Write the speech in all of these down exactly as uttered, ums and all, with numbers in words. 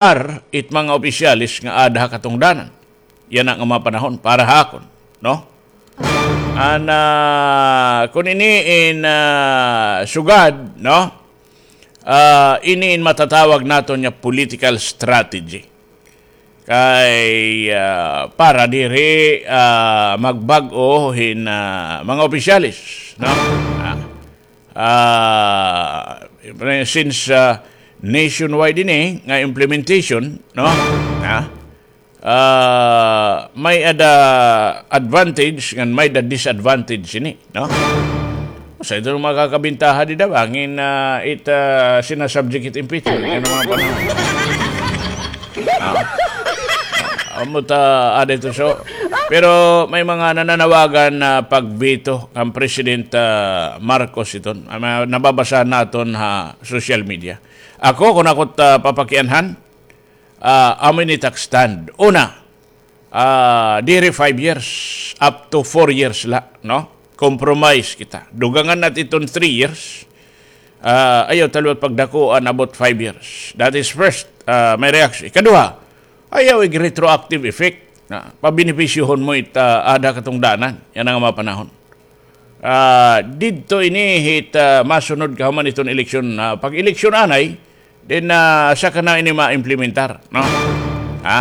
ar it mga opisyales nga ada ha katungdanan. Yana nga mga panahon para ha akon, no? An, ah, kun ini in, ah, sugad, no? Ah, ini in matatawag naton nga political strategy. Kay, ah, para diri, ah, magbag-o hin, ah, mga opisyales, no? Ah, ah, since, ah, nationwide ini nga implementation, no? Ah, ah, may-ada advantage ngan may-ada disadvantage ini, no? Sa ito makakabintaha dida, bangin, ah, it, ah, sinasubject it impeachment. Ano mga panahon? Ah. Amo ta, ada ito, so. Pero may mga nananawagan na pag-veto kan President, ah, Marcos iton. Ah, ma-, nababasa naton ha social media. Ako, kun ako ta papakianhan, ah, amo ini it ak stand. Una, ah, diri five years, up to four years la, no? Compromise kita. Dugangan nat iton three years. Ah, ayaw ta liwat pagdakuan about five years. That is first, ah, my reaction. Ikaduha, ayaw ig retroactive effect. Na, pabenepisyohon mo it, ah, ada katungdanan. Yana nga mga panahon. Ah, didto ini hit, ah, masunod kahuman iton eleksyon. Ah, pag-eleksyon anay, then, ah, saka na ini ma-implementar, no? Ha?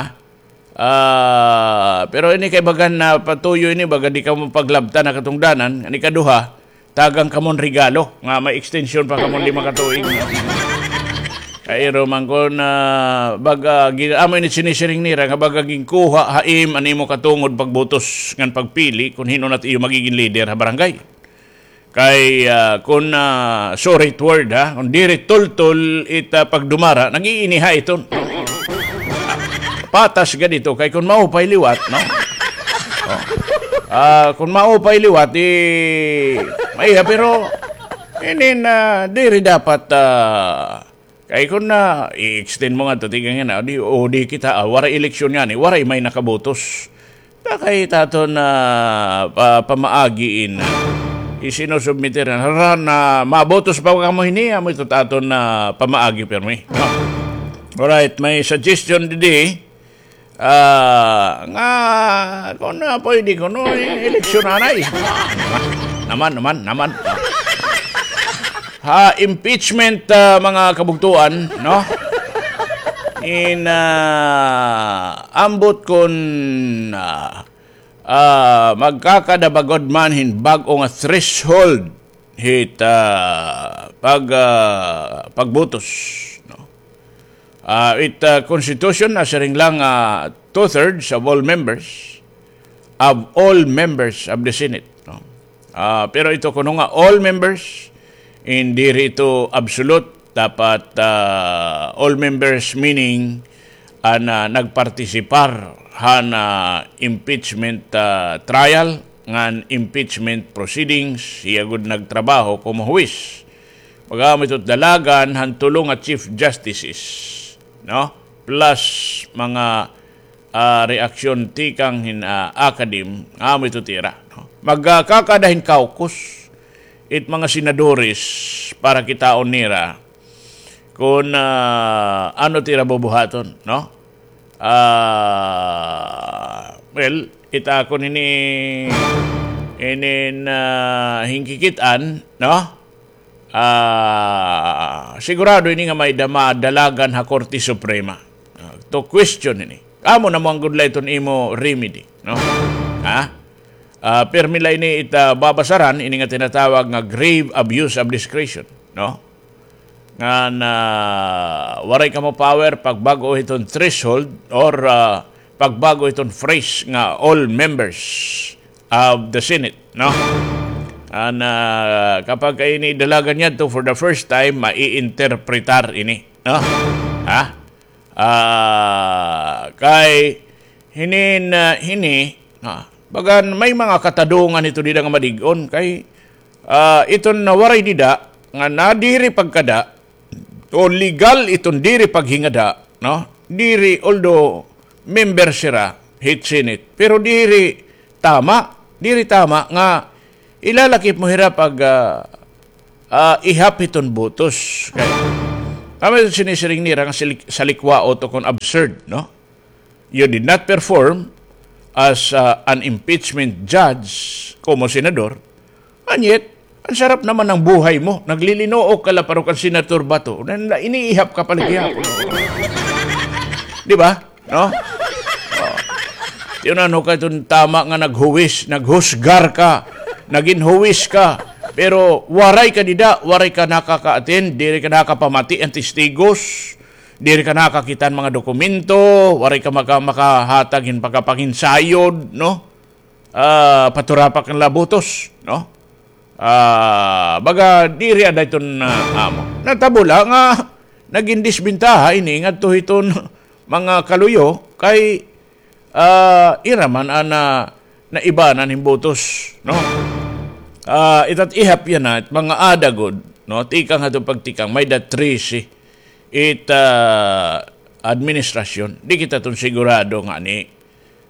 Ah, pero ini kay bagan na patuyo ini, baga di kamo paglabtan ha katungdanan. An ikaduha, tagan kamo hin regalo nga may extension pa kamo hin lima ka tuig. Kay iro man kon, ah, baga, gi-, amo ini sinisiring nira nga baga ginkuha ha im an imo katungod pagbutos ngan pagpili kun hin-o na it iyo magigin leader ha barangay. Kay, ah, kun, ah, sorry it word, ha, kun diri tultol it, ah, pagdumara, nag-iiniha iton. Patas gad ito, kay kun maupay liwat, no? Oh. Ah, kun maupay liwat, di, maiha, pero, inin, ah, diri dapat, ah, kay kun na, i-extend mo ngadto, tikang yana, di, o di kita, ah, waray eleksyon ngani, waray may nakabotos. Ta kay it aton, ah, pa-, pamaagi in, ah, isinusubmit hira. Hira na, mabotos pa kamo hini, amo ito it aton, ah, pamaagi pirmi. No? Alright, may suggestion didi. Ah, nga, kun na pwede kuno, eh, eleksyon anay. Naman, naman, naman. Ha impeachment, ah, mga kabugtoan, no? In, ah, ambot kun, ah, ah, magkakada ba gud man hin bag-o nga threshold hit, ah, pag, ah, pagbotos, no? Ah, it, ah, Constitution nasiring la nga two-thirds of all members, of all members of the Senate, no? Ah, pero ito kuno nga all members, in diri ito absolute, dapat, ah, all members meaning an, ah, nagpartisipar han, ah, impeachment, ah, trial ngan impeachment proceedings, hiya gud nagtrabaho komo huwis. Pag-amo ito dalagan han tulo nga Chief Justices, no? Plus mga, ah, reaksyon tikang hin, ah, academe, amo ito it ira, no? Magkakada hin caucus it mga senadores para kitaon nira kun, ah, ano it ira bubuhaton, no? Ah, well, it akon ini, inin, ah, hinkikit-an, no? Ah, sigurado ini nga may-ada madalagan ha Korte Suprema, ah, to question ini. Amo na man gud la iton imo remedy, no? Ha? Ah, pirmi la ini it, ah, babasaran, ini nga tinatawag nga grave abuse of discretion, no? Ngan, ah, waray kamo power pagbag-o hiton threshold or, ah, pagbag-o hiton phrase nga all members of the Senate, no? An, ah, kapag ka ini idalagan ngadto for the first time, maiinterpretar ini, no? Ha? Ah, kay hinin, ah, hini, ah, bagan may mga katadungan ito dida nga madig-on kay, ah, iton nawaray dida nga nadiri pagkada o legal iton diri paghingada, no? Diri, although member sira hit Senate, pero diri tama, diri tama nga ilalakip mo hira pag, ah, ah, ihap hiton botos. Kay, Amo it sinisiring nira nga silik-, salikwaot o kon absurd, no? You did not perform as, uh, an impeachment judge, komo senador, and yet, an sarap naman ng buhay mo. Naglilinuok ka la parok kan Senator Bato. Na, na, iniihap ka pa la gihapon. Di ba? No? Oh. Tiyo na, no, kay tun tama nga naghuwis, naghusgar ka, nagin huwis ka. Pero waray ka dida, waray ka nakaka-attend, diri ka nakapamati an testigos, diri ka nakakita an mga dokumento, waray ka maka-, makahatag hin pagkapanginsayod, no? Ah, paturapak an la butos, no? Ah, baga diri ada iton, ah, amo. Natabo la nga nagin disbentaha ini ngadto hiton mga kaluyo kay, ah, ira man an, ah, naibanan hin butos, no? Ah, ita't ihap yana, it mga ada gud, no? Tikang hadto pagtikang, may-ada trese it, ah, administrasyon. Di kita ton sigurado ngani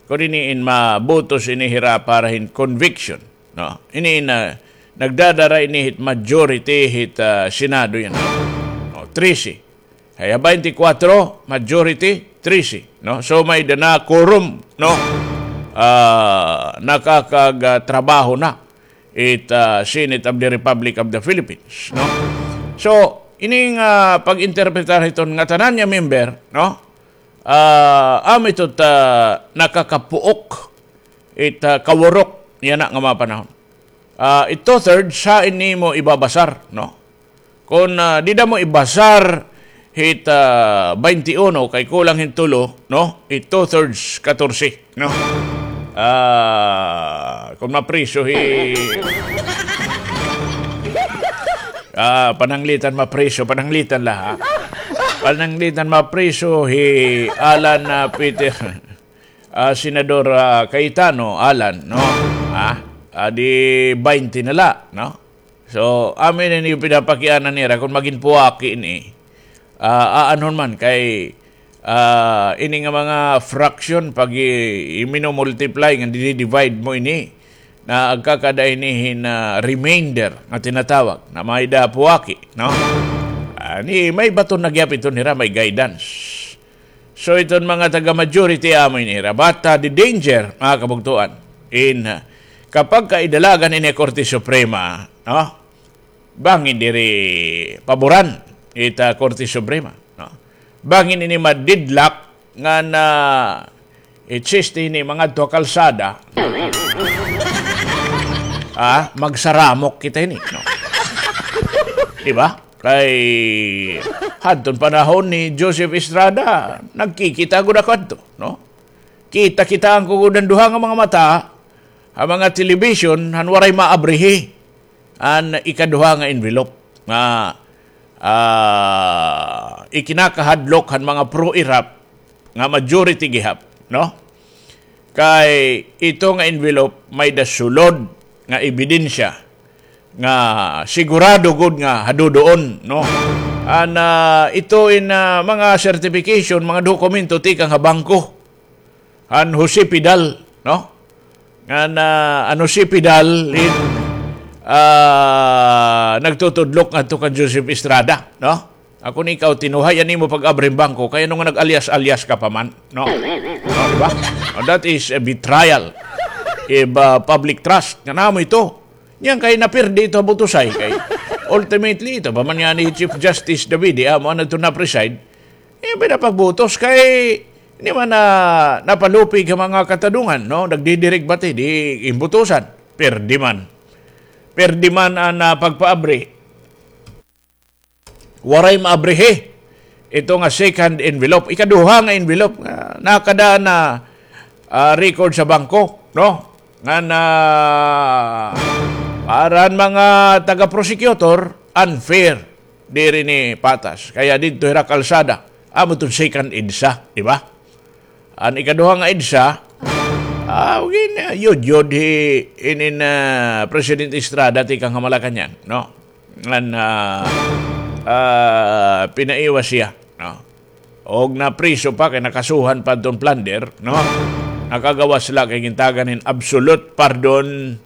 kon ini in mabutos ini hira para hin conviction, no? Ini in, ah, nagdadara ini hit majority hit, ah, Senado yana. No, trese. Kaya twenty-four, majority, trese, no? So, may-ada na quorum, no? Ah, nakakag-, ah, trabaho na it, ah, Senate of the Republic of the Philippines, no? So, ini nga pag-interpretar hiton ngatanan nga member, no? Ah, amo ito ta nakakapuok it, ah, kawurok yana nga mga panahon. Ah, it two-thirds, hain nimo ibabasar, no? Kon, ah, dida mo ibasar hit, ah, twenty-one, kay kulang hin tulo, no? It two-thirds, katorse, no? Ah, kon mapriso hi, ah, pananglitan mapriso, pananglitan la, ha? Pananglitan mapriso hi Alan, ah, Peter. Ah, Senador, ah, Cayetano, Alan, no? Ah, ah, di twenty na la, no? So, amo ini pinapakiana nira kon magin puwaki ini. Ah, aanhon man kay, ah, ini nga mga fraction pag i-, i-, mino-multiply nga di-divide mo ini, na agkakada ini hin, ah, remainder nga tinatawag na may-ada puwaki, no? Ani, may baton na gihap ito nira, may guidance. So, iton mga taga-majority amo ini hira. But, ah, the danger, mga kabugtoan, in, ah, kapag kaidalagan ini Korte Suprema, no? Bangin diri paboran ita Korte Suprema, no? Bangin ini ma-deadlock nga na exist ini mga adto kalsada. Ah, magsaramok kita ini, no? Di ba? Kay hadton panahon ni Joseph Estrada, nagkikita gud ako adto, no? Kita-kitaan ko gud an duha nga mga mata ha mga television, han waray maabrihi an ikaduha nga envelope nga, ah, ikinakahadlok han mga pro-Irap nga majority gihap, no? Kay ito nga envelope may-ada sulod nga ebidensya nga sigurado gud nga hadudoon, no? An, ah, ito in, ah, mga certification, mga dokumento tikang ha bangko. An Jose Pidal, no? Ngan, ah, an Jose Pidal in, ah, nagtutudlok ngadto kan Joseph Estrada, no? Ako ni ikaw, tinuhay an imo pag-abri hin bangko, kay ano nga nag-alyas-alyas ka pa man, no? No, di ba? No, that is a betrayal of, ah, public trust. Ngan amo ito. Niyan kay napirdi ito ha butusay kay. Ultimately, ito pa man ngani hi Chief Justice Davide, amo an adto na-preside. Iya pa na pagbutos kay, di man na napalupig ha mga katadungan, no? Nagdidirig bati, di imbutusan. Pirdi man. Pirdi man an, ah, pagpaabri. Waray maabrihi ito nga second envelope, ikaduha nga envelope, ah, nakada na, ah, record sa bangko, no? Nga na, para an mga taga-prosecutor, unfair, diri ni patas. Kaya didto hira kalsada, amo iton second EDSA, di ba? An ikaduha nga EDSA, ah, gin-, yudyod hi inin, ah, President Estrada tikang ha Malacañang, no? Ngan, ah, ah, pinaiwas hiya, no? Og napriso pa kay nakasuhan pa adton plunder, no? Nakagawas la kay gintagan hin absolute pardon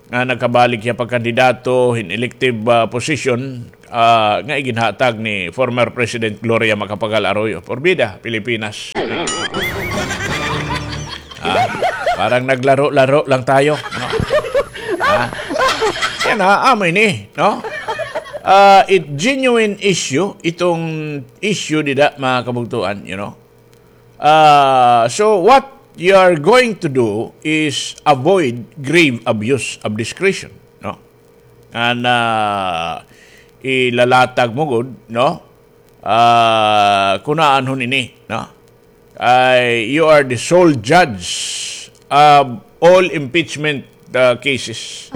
nga nakabalik hiya pagkandidato hin elective, ah, position, ah, nga iginhatag ni former President Gloria Macapagal Arroyo. Porbida, Pilipinas. Ah, parang naglaro-laro lang tayo, no? Ah, yan ha, amo ini, no? Ah, it genuine issue, itong issue dida, mga kabugtuan, you know. Ah, so what you are going to do is avoid grave abuse of discretion, no? And, ah, ilalatag mo gud, no? Ah, kunaan ho ini, no? Ay, you are the sole judge of all impeachment, ah, cases.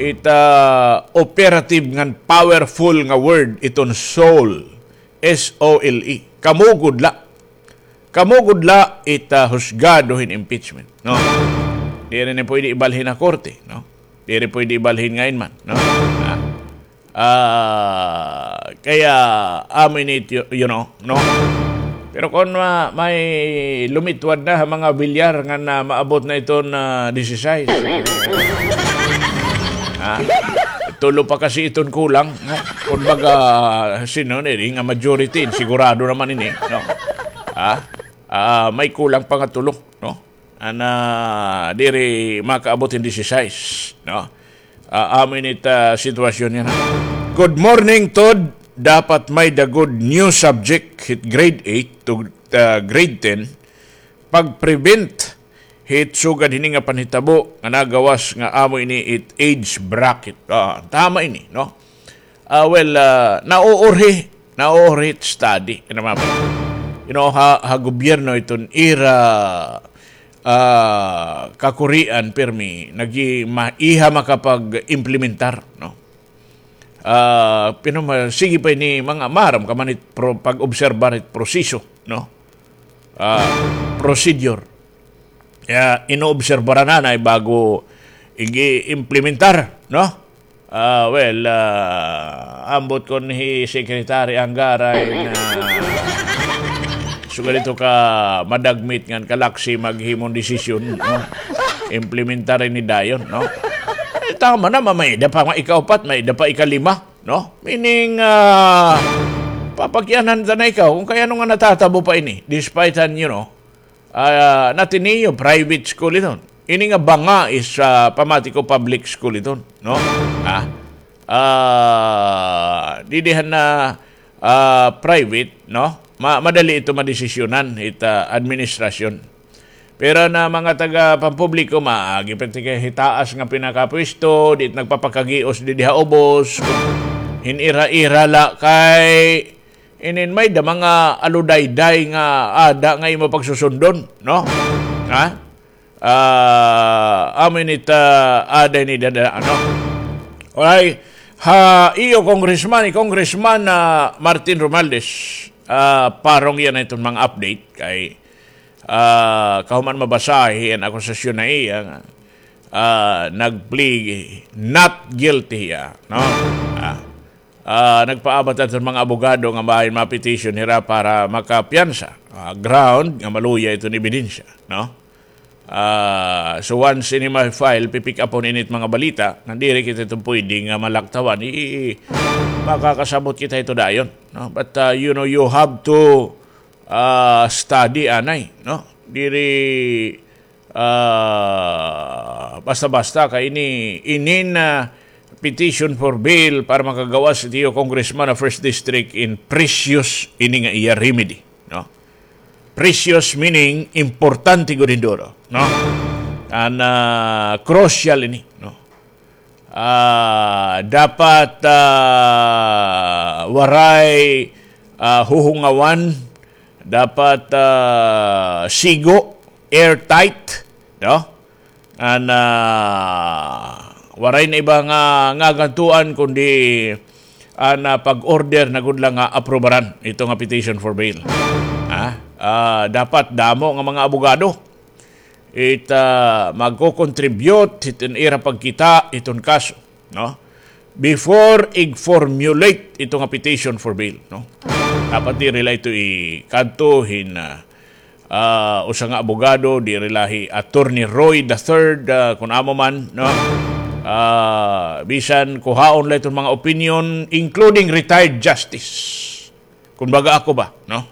It, ah, operative ngan powerful nga word iton sole. S O L E. Kamo gud la. Kamo gud la it, ah, husgado hin impeachment, no? Diri ni pwede ibalhin ha korte, no? Diri pwede ibalhin ngain man, no? Ah. Ah, kaya amo ini, you, you know, no? Pero kon ma-, may lumitwad na ha mga bilyar nga na maabot na iton, ah, disisais. Ha? Tulo pa kasi iton kulang, no? Kumbaga, sino ni nga majority, sigurado naman ini, no? Ha? Ah, may kulang pa nga tulo, no? Ana, diri makaabot hin disisais, no? Ah, amo ini it, ah, sitwasyon yana. Good morning, Tod. Dapat may-ada gud new subject hit grade eight to, ah, grade ten. Pag-prevent hit sugad hini nga panhitabo nga nagawas nga amo ini it age bracket. Ah, tama ini, no? Ah, well, ah, nauurhi, nauurhi it study. Ano, mama? You know, ha, ha gobyerno iton ira, ah, kakurian pirmi, nagi-, ma-, iha makapag-implementar, no? Ah, pero ma-, sige pa ini mga maaram ka man it pro-, pag-obserbar it proseso, no? Ah, procedure. Kaya inoobserbaran na na bago igi-implementar, no? Ah, well, ah, ambot kon hi Secretary Anggaray na sugad ito ka madagmit ngan kalaksi maghimon desisyon, no? Implementar ini dayon, no? Eh, tama na, may-ada pa nga ikaupat, may-ada pa ikalima, no? Meaning, ah, papakyanan ta na ikaw kung kay ano nga natatabo pa ini, despite han, you know, ah, natiniyo, private school iton. Ini nga banga is, ah, pamati ko public school iton, no? Ah, ah, didi han na, ah, private, no? Ma-, madali ito madesisyonan, it, ah, administrasyon. Pero na mga taga pampubliko, maagi pa ti kay hitaas nga pinakapwesto, di nagpapakagios didi ha ubos, hin ira-ira la kay inin may-ada mga aludayday nga ada nga imo pagsusundon, no? Ha? Ah, amo ini ta, ada ini dada, ano? Alright. Ha, iyo, Congressman, ni Congressman, ah, Martin Romualdez, ah, parong yana iton mga update kay, ah, kahuman mabasahi an akusasyon na iya nga, ah, nag-plead not guilty hiya, no? Ah, ah, nagpaabat aton mga abogado nga bahin ma-petition hira para makapiyansa. Ah, ground nga maluya iton ebidensya, no? Ah, so once ini ma-file, pipick upon ini it mga balita, nga diri kita ito pwede nga malaktawan, i-, i-, makakasabot kita ito dayon, no? But, ah, you know, you have to, ah, study anay, no? Diri, ah, basta-basta kay ini, inin, ah, petition for bail para makagawas it iyo congressman ha first district in precious ini nga iya remedy, no? Precious meaning importante gud hin duro, no? An, ah, crucial ini, no? Ah, dapat, ah, waray, ah, huhungawan, dapat, ah, sigo, airtight, no? An, ah, waray na iba nga, nga gantuan kundi an, ah, pag-order na gud la nga aprubaran ito nga petition for bail. Ha? Ah, dapat damo nga mga abogado it, ah, magko-contribute hiton ira pagkita hiton kaso, no? Before ig-formulate ito nga petition for bail, no? Dapat diri la ito ikadto hin, ah, ah, usa nga abogado, diri la hi Attorney Roy the third, ah, kun amo man, no? Ah, bisan kuhaon la iton mga opinion, including retired justice. Kumbaga ako ba, no?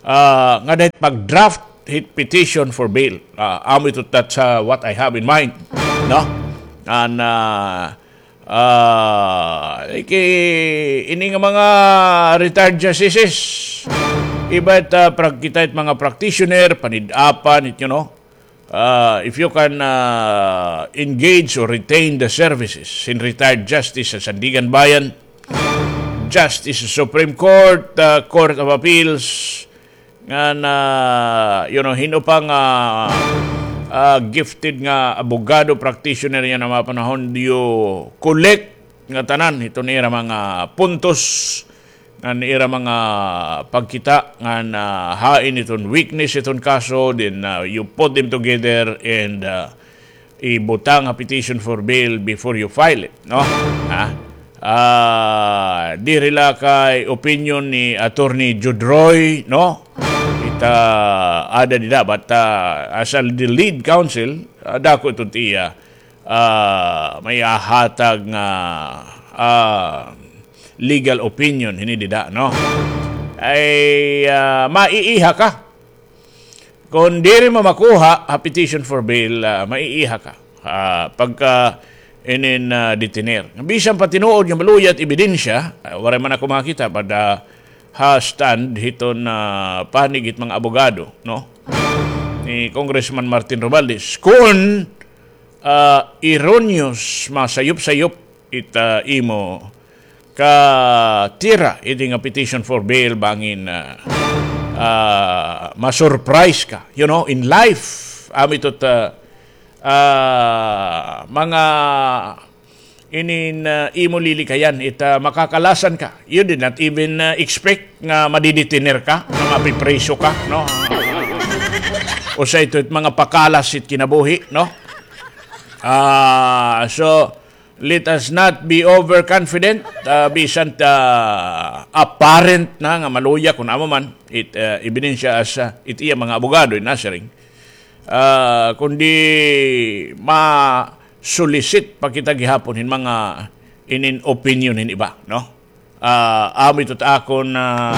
Ah, ngada hit pag-draft hit petition for bail. Ah, amo ito, that's, ah, what I have in mind, no? And, ah, ah, iki-, ini nga mga retired justices, iba it, ah, pag-, kita it mga practitioner, panid-apan, it, you know, ah, if you can, ah, engage or retain the services hin retired justice ha Sandiganbayan, justice sa Supreme Court, ah, Court of Appeals, ngan, you know, hin-o pa nga, ah, gifted nga abogado, practitioner yana mga panahon, you collect nga tanan hiton ira mga puntos, ngan ira mga pagkita, ngan, ah, hain iton weakness iton kaso, then, ah, you put them together and, ah, ibutang ha petition for bail before you file it, no? Ha? Ah, diri la kay opinion ni Attorney Judroy, no? Kita ada dida, but, ah, as a, the lead counsel, ah, dako iton iya, ah, maihatag nga, ah, legal opinion hini dida, no? Ay, ah, maiiha ka. Kon diri mo makuha ha petition for bail, ah, maiiha ka. Ah, pagka inin, ah, detener. Bisan pa tinuod nga maluya it ebidensya, ah, waray man ako makakita, but, ah, ha stand hiton, ah, panig hit mga abogado, no? Ni Congressman Martin Romualdez. Kon, ah, erroneous, masayop-sayop it, ah, imo katira, ini nga petition for bail, bangin, ah, ah, ma-surprise ka, you know, in life. Amo ito it, ah, ah, mga inin, ah, imo lilikayan, it, ah, makakalasan ka. You did not even, ah, expect nga madidetener ka, nga mapipriso ka, no? Usa ito it mga pakalas it kinabuhi, no? Ah, so, let us not be overconfident, ah, bisan, ah, apparent na nga maluya kon amo man it, ah, ebidensya as, ah, it iya mga abogado, inasiring. Ah, kundi ma-solicit pa kita gihapon hin mga inin opinion hin iba, no? Ah, amo ito it akon, ah,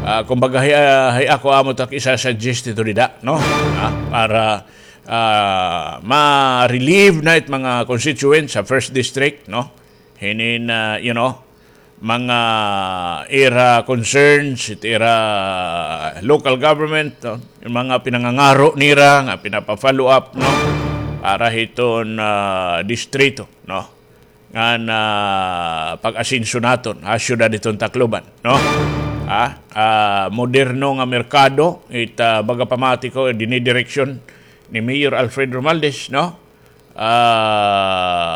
ah, kumbaga, hay, ah, hay ako amo it ak isasuggest ito dida, no? Ah, para, ah, ma-relieve na it mga constituents sa first district, no? Hinin, ah, you know, mga ira concerns, it ira local government, no? It mga pinangangaro nira nga pinapa-follow up, no? Para hiton, ah, distrito, no? Ngan, ah, pag-asenso naton ha syudad hiton Tacloban, no? Ha? Ah, moderno nga merkado, it, ah, baga pamati ko, dinidireksyon ni Mayor Alfred Romualdez, no? Ah,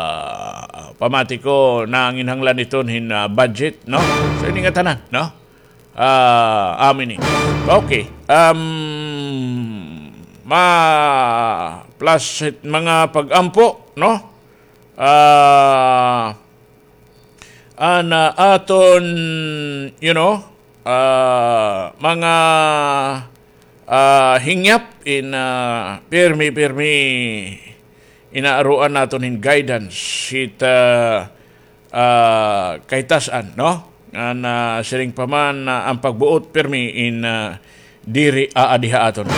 pamati ko, nanginhanglan iton hin, ah, budget, no? So, ini nga tanan, no? Ah, amo ini. Okay. Um, ma-, plus it mga pag-ampo, no? Ah, an, ah, aton, you know, ah, mga, ah, hingyap in, ah, pirmi-pirmi inaaruan naton hin guidance hit, ah, ah, kahitas-an, no? Ngan, ah, siring pa man, ah, an pagbuot pirmi in, ah, diri aadi ha aton.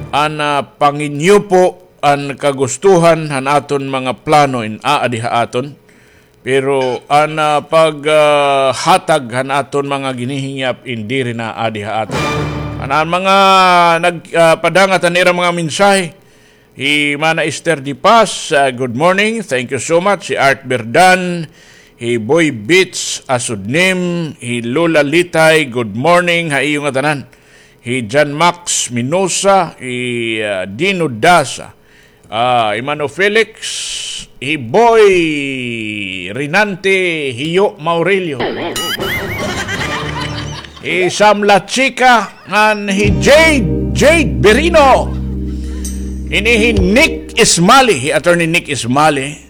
An, ah, panginyupo, an kagustuhan han aton mga plano in aadi ha aton. Pero an, ah, pag, ah, hatag han aton mga ginihingyap in diri na adi ha aton. An, an mga nag-, ah, padangat han ira mga mensahe. Hi Mana Esther Di Paz, ah, good morning. Thank you so much. Hi Art Berdan, hi Boy Beats Asudnim, hi Lola Litay, good morning ha iyo ngatanan. Hi John Max Minosa, hi, ah, Dino Dasa, ah, Emano Felix, hi Boy Rinante, Hiyo Maurilio, hi Sam La Chica, ngan hi Jade, Jade Berino. Ini hi Nick Ismali, hi Attorney Nick Ismali.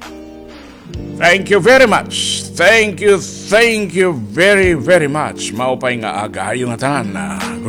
Thank you very much. Thank you, thank you very, very much. Maupay nga aga ha iyo ngatanan.